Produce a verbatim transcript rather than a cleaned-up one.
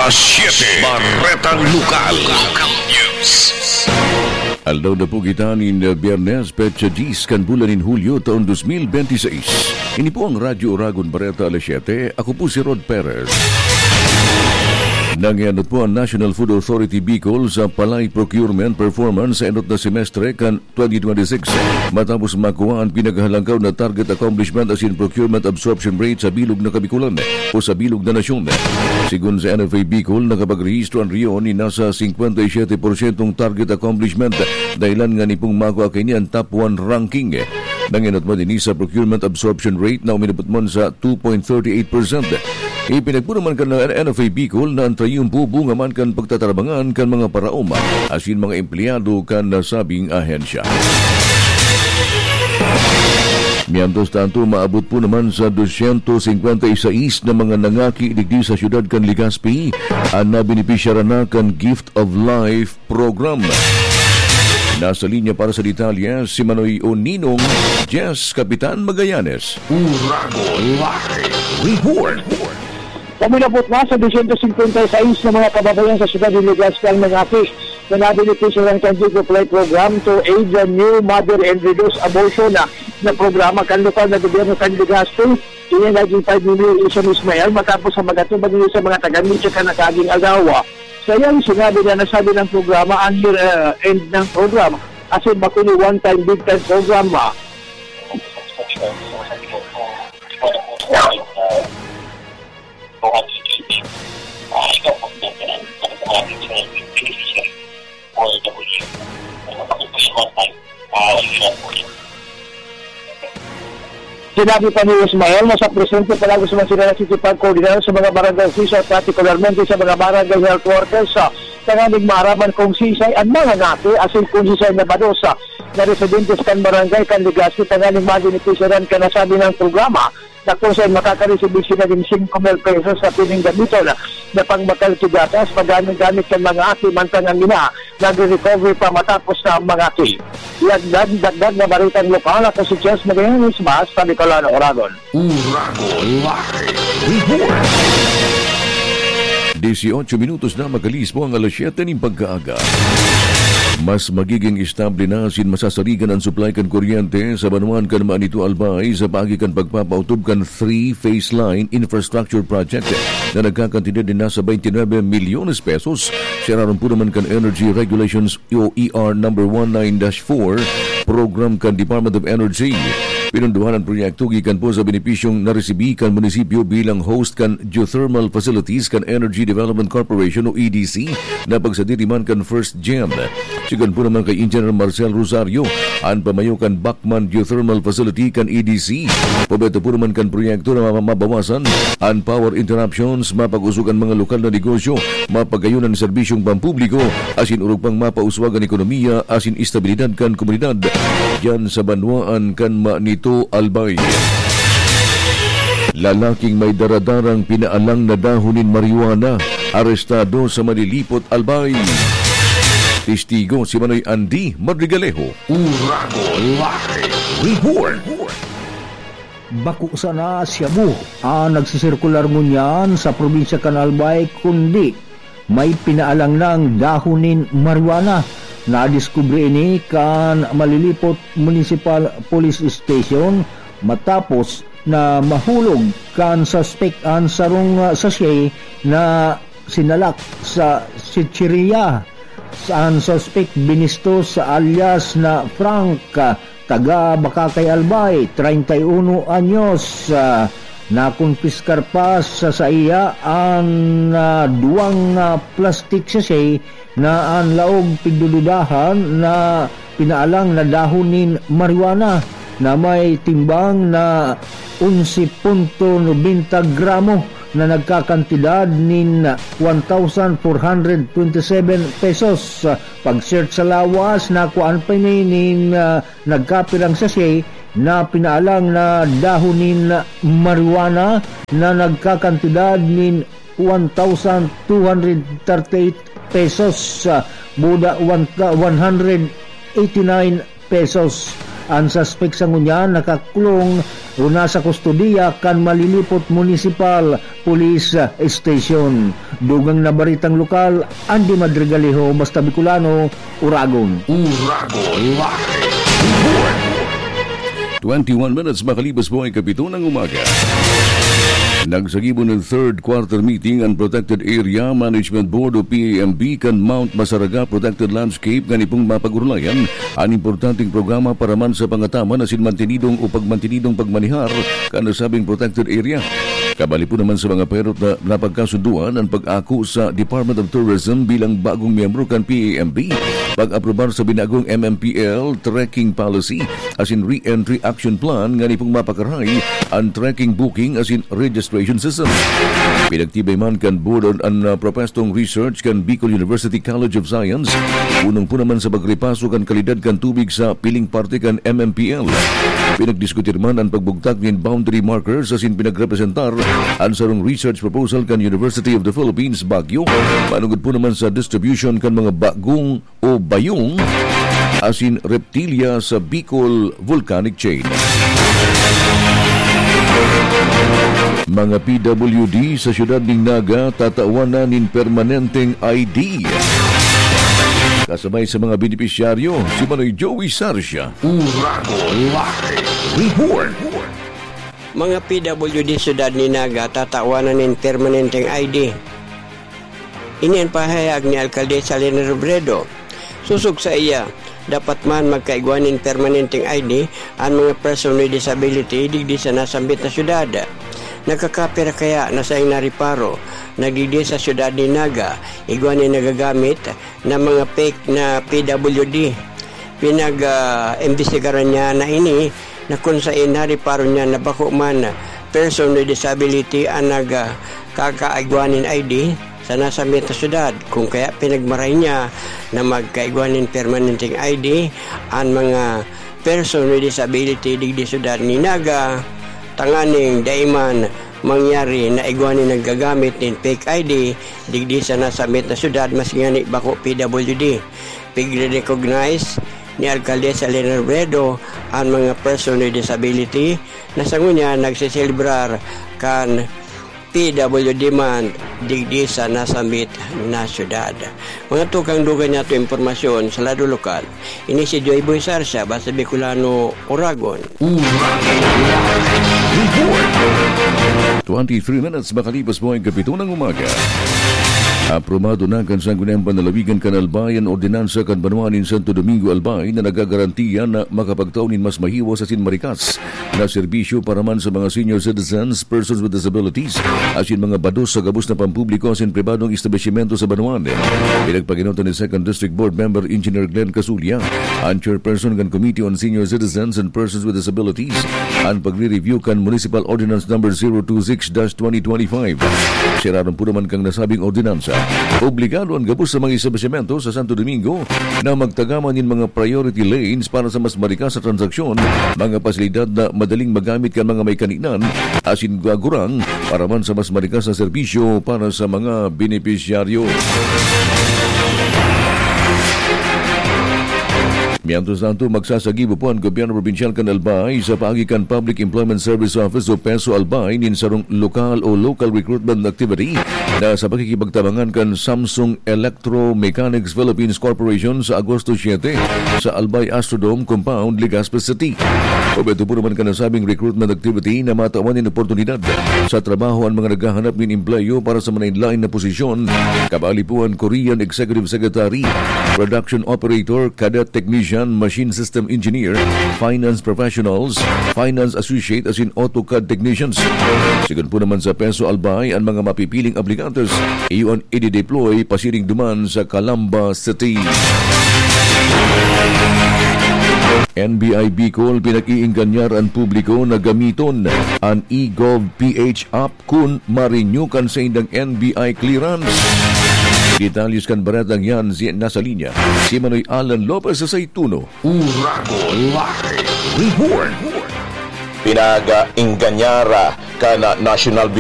Siete. Baretang Lokal. Local News. Aldaw na po kita nin Biyernes, petsa diyes kan bulan nin Hulyo, taon dos mil benti sais. Ini po ang Radyo Oragon Bareta, alas siyete. Ako po si Rod Perez. Nangianot po ang National Food Authority Bicol sa palay procurement performance sa enot na semestre kan twenty twenty-six, matapos makuha ang pinakahalangkaw na target accomplishment asin procurement absorption rate sa bilog na Kabikulan o sa bilog na nasyon. Sigon sa N F A Bicol, nakapagrehistro an Rion ni nasa singkwenta y siyete porsyentong target accomplishment, dahilan nga nipong makuha kaini an top one ranking. Nangenot man ini sa procurement absorption rate na uminabot man sa two point thirty eight percent. Ipinagpuro man kan N F A Bicol na an trayumpo bunga man kan pagtatarabangan kan mga paraoma asin mga empleyado kan nasabing ahensya. Mientras tanto, maabot po naman sa dosyentos singkwenta y sais na mga nangaki digdi sa siyudad kan Legazpi an nabenepisyaran na kan Gift of Life Program. Nasa linya para sa detalye si Manoy Oninong, Jess Kapitan Magallanes. Uragon Live Report. Uminabot na sa dosyentos singkwenta y sais na mga kababayan sa siyudad ni Legazpi ang nangaki na nabenepisyaran kan Gift of Life Program to aid the new mother and reduce abortion na, na programa kan lokal na gobyerno kan Legazpi. Ini naging pahayag ni Mayor Isam Ismael matapos ang pag-atubang niya sa mga taga-media kan nakaaging aldaw. Sa iyang sinabi na nasabi ng programa ang year, uh, end ng programa, as in, bakuli one-time, big-time program. Sinabi pa ni Ismael na sa presente palagi naman sila nakikipagkoordinar sa mga barangay official, partikularmente sa mga barangay health workers, ah, tanganing maaraman kung sisay ang mga ngati asin kung sisay na bados, ah, na residentes kan barangay kan Legazpi tanganing mabenepisyaran kan nasabi ng programa na kung saan makakaresibir sila nin singko mil pesos na pwedeng gamiton na pangbakal ki gatas, paggamit-gamit kan mga aki, mantang ang ina nagre-recover pa matapos na mangaki. Dagdag, dagdag na baretang lokal, ako si Jess Magallanes, Basta Bicolano, Oragon. Uragon Live Report. Dieciocho minutos na makalis po ang alas siyete nin pagkaaga. Mas magiging estable na asin masasarigan an supply kan kuryente sa banwaan kan Manito, Albay sa paagi kan pagpapautob kan three-phase line infrastructure project na nagkakantidad nin nasa twenty-nine milyones pesos. Siya raron po naman kan Energy Regulations o E R number one nine dash four program kan Department of Energy. Pinunduhan an proyekto gikan po sa benepisyong naresibi kan munisipyo bilang host kan geothermal facilities kan Energy Development Corporation o E D C na pagsadiri man kan First Gen. Sigon po naman kay Engineer Marcel Rosario, an pamayo kan Bacman Geothermal Facility kan E D C. Pabeta po naman kan proyekto na ma-, mabawasan an power interruptions, mapag-usog an mga lokal na negosyo, mapagayon an serbisyong pampubliko, asin orog pang mapauswag an ekonomiya asin estabilidad kan komunidad diyan sa banwaan kan Manito, Albay. Lalaking may daradarang pinaalang na dahon nin marijuana, arestado sa Malilipot, Albay. Testigo si Manoy Andy Madrigalejo. Uragon Live Report. Bako sana shabu an nagsisirkular ngunyan sa probinsya kan Albay, kundi may pinaalang nang dahon nin marijuana. Nadiskubre ini kan Malilipot Municipal Police Station matapos na mahulog kan suspek an sarong, ah, sachet na sinalak sa chichirya. An suspek, Binistos alias na Frank, taga Bacacay, Albay, treinta y uno anyos. Ah, nakonpiskar pa sa saiya an, ah, duwang, ah, plastic sachet na an laog pigdududahan na pinaalang na dahon nin marijuana na may timbang na onse punto nobenta gramo na nagkakantidad nin one thousand four hundred twenty-seven pesos. Pag-search sa lawas, nakuhaan pa ini nin, ah, nagkapirang sachet na pinaalang na dahon nin marijuana na nagkakantidad nin one thousand two hundred thirty-eight pesos, ah, buda one, one hundred eighty-nine pesos. An suspek sa ngunyan nakakulong o nasa kustodiya kan Malilipot Municipal Police Station. Dugang na baretang lokal, Andy Madrigalejo, Basta Bicolano, Uragon. Uragon Live Report. Twenty-one minutes makalipas po ay kapito ng umaga. Nagsagibo ng third quarter meeting ang Protected Area Management Board o P A M B kan Mount Masaraga Protected Landscape ngani pong mapag-urulayan an importanteng programa para man sa pangataman asin mantenidong o pagmantenidong pagmanihar kan nasabing protected area. Kabali po naman sa mga perot na napagkasunduan ang pag-ako sa Department of Tourism bilang bagong miyembro kan P A M B, pag-aprobar sa binagong M M P L trekking policy asin re-entry action plan ngani pong mapakaray an trekking booking asin registration system. Pinagtibay man kan board an, an, ah, propestong research kan Bicol University College of Science, punong po naman sa pagripaso kan kalidad kan tubig sa piling parte kan M M P L. Pinagdiskutir man an pagbugtak nin boundary markers asin pinagrepresentar an sarong research proposal kan University of the Philippines, Baguio, manungod po naman sa distribution kan mga bagong o bayong asin reptilya sa Bicol Volcanic Chain. Mga P W D sa siyudad nin Naga tatawan na nin permanenteng I D. Kasabay sa mga benepisyaryo, si Manoy Joey Sarsia. Uragon Live Report. Mga P W D siyudad ni Naga tatawan na nin permanenteng I D. Ini an pahayag ni Alcaldesa Leni Robredo. Sosog saiya, dapat man magkaigwa nin permanenteng I D an mga person with disability digdi sa nasambit na syudad. Nagkakapira kaya na saing nariparo na digdi sa syudad ni Naga, igwa nin nagagamit na mga fake na P W D. Pinag, ah, imbestigaran niya na ini na kun saen nariparo niya na bako man person with disability an nag, ah, kakaigwa nin I D sa nasambit na syudad, kun kaya pinagmaray niya na magkaigwa nin permanenteng I D an mga person with disability digdi syudad ni Naga, tanganing dai man mangyari na igwa nin naggagamit nin fake I D digdi sa nasambit na syudad, maski ngani bako P W D. Pigre-recognize ni Alcaldesa Leni Robredo an mga person with disability na sa ngunyan nagseselebrar kan P W D Month digdi sa nasambit na syudad. Mga tukang, dugang niyato impormasyon sa lado lokal. Ini si Joy Boy Sarsia, Basta Bicolano, Uragon. Uragon Live Report. Twenty-three minutes makalipas po ang kapito ng umaga. Aprobado na kan Sangguniang Panlalawigan kan Albay an ordinansa kan banwaan nin Santo Domingo, Albay, na nagagarantiya na makapagtao nin mas mahiwas asin marikas na serbisyo para man sa mga senior citizens, persons with disabilities, asin mga bados sa gabos na pampubliko asin pribadong establisimento sa banwaan. Pinagpakinutan ni Second District Board Member Engineer Glenn Casulia, ang chairperson kan Committee on Senior Citizens and Persons with Disabilities, ang pagre-review kan Municipal Ordinance Number zero two six dash twenty twenty-five. Sinabi po naman kan nasabing ordinansa, obligado ang gabos sa mga establisimento sa Santo Domingo na magtagama nin mga priority lanes para sa mas marikas na transaksyon, mga pasilidad na madaling magamit kan mga may kaninan, asin gagurang para man sa mas marikas na serbisyo para sa mga benepisyaryo. Mientras tanto, magsasagibo po ang gobyerno probinsyal kan Albay sa paagi kan Public Employment Service Office o PESO Albay nin sarong lokal o local recruitment activity na sa pakikipagtabangan kan Samsung Electromechanics Philippines Corporation sa Agosto siete sa Albay Astrodome Compound, Legazpi City. Objeto po naman kan nasabing recruitment activity na matawan nin oportunidad sa trabaho ang mga naghahanap nin empleyo para sa manlaen-laen na posisyon, kabali po an Korean Executive Secretary, Production Operator, Cadet Technician, Machine System Engineer, Finance Professionals, Finance Associate asin AutoCAD Technicians. Sigon po naman sa PESO Albay, ang mga mapipiling aplikantes iyo an i-deploy pasiring duman sa Calamba City. N B I Bicol, pinag-iingganyar an publiko na gamiton an eGov P H app kun ma-renew kan saindang N B I clearance. Detalles kan baretang yan si, nasa linya, si Manoy Alan Lopez sa Saituno. Uragon Live Report. Pinag-ingganyara kan National